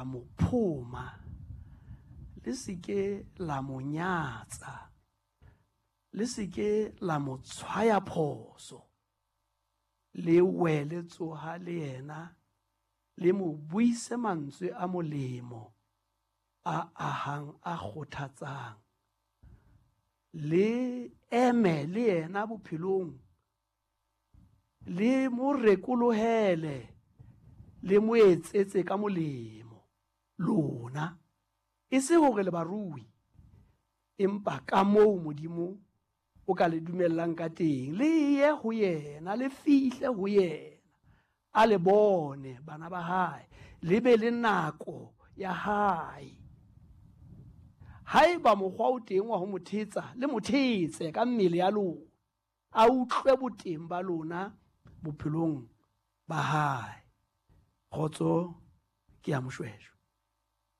la mo phoma, le se ke la mo nyatsa, le se ke la mo tshwaya phoso, le wele tsoha le yena, le mo buise mantswe a molemo a ahang a kgothatsang, le eme le yena bophelong, le mo rekolohele, le mo etsetse ka molemo lona, e se hore le barui, empa ka moo Modimo o ka le dumellang ka teng, le ye ho yena, le fihle ho yena, a le bone bana ba hae, le be le nako ya hae. Haeba mokgwa o teng wa ho mo thetsa, le mo thetse ka mmele ya lona, a utlwe boteng ba lona bophelong ba hae. Kgotso ke ya Moshweshwe.